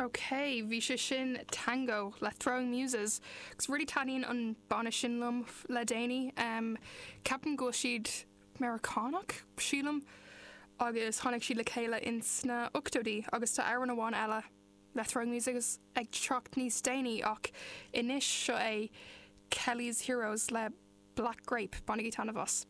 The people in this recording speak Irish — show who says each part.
Speaker 1: Ok, bhí sé sin Tango le Throwing Muses agus really taitníonn an banna sin liom le déanaí. Ceapaim go bhfuil siad Meiriceánach, sílim, agus tháinig siad le chéile ins na ochtóidí agus tá amhrán amháin eile le Throwing Muses ag teacht níos déanaí ach anois seo é Kelly's Heroes le Black Grape, bainigí taitneamh as.